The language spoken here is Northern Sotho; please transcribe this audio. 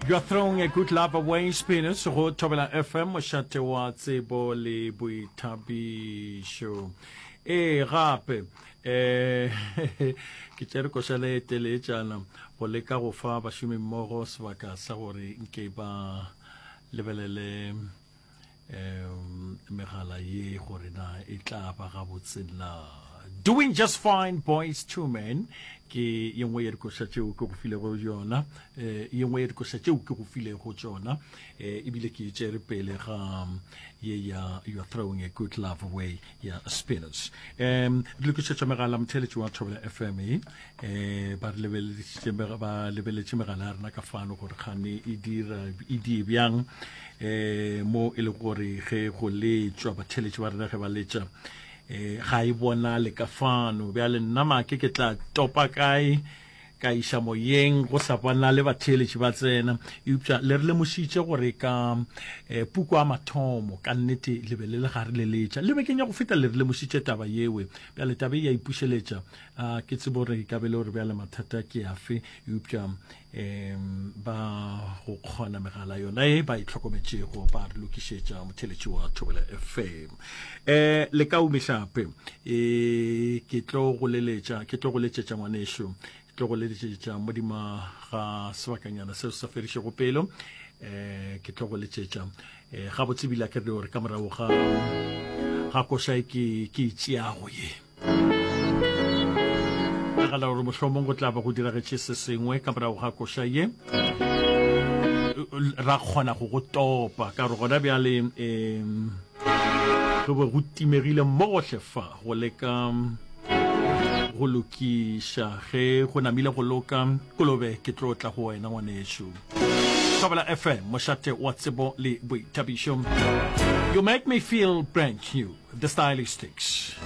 You're throwing a good love away, Spinners, go Thobela FM, mošate wa tsebo le boithabišo. Ee, gape, eh, ke tšere koša le e teleetšana go leka go fa bašomimmogo sebaka sa gore nke ba lebelele um megala ye gore na e tla ba gabotse na. Doing Just Fine, Boys to Men ke ye nngwe ya dikoša tšeo ke go filego yona, eh, ye nngwe ya dikoša tšeo ke go filego tšona, eh, ebile ke e tšere pele ga ye ya You Are Throwing a Good Love Away ya Spinners. Um re lokišetša megala motheeletši wa Thobela FM e eh, ba re lebeleditše ba lebeletše megala ya rena ka fano gore kgane e dira e die bjang eh mo e le gore ge go letšwa batheeletši ba rena ge ba letša eh ga e bonale ka fano bjale nna make ke tla topa kae ka iša moyeng go sa bonale batheeletši ba tsena. Eupša le re lemošitše gore ka eh, puku ya mathomo ka nnete le be le le gare le letša. Le bekeng ya go feta le re lemošitše taba yewe. Bjale taba e ya ipušeletša. A ke tsebo gore e ka be le gore bjale mathata ke afe, eupša um ba go kgona megala yona e ba e hlokometšego ba re lokišetša motheeletši wa Thobela FM. Eh le ka umehlape e ke tlo go leletša ke tlo go letšetša ngwanešo ke tlo go leletšetša modima ga sebakanyana seo se sa fedišego pelo eh ke tlo go letšetša eh gabotse bile ke re gore ka morago ga ga koša e ke ke e tšeago ye nagana gore mohlomong go tla ba go diragetše se sengwe ka morago ga koša ye ra kgona go go topa ka gore gona bjale um go be go timegile mo gohle fa go leka go lokiša ge go namile go loka kolobe ke tlo tla go wena ngwanešu Thobela FM mošate wa tsebo le boithabišo you make me feel brand new the stylistics.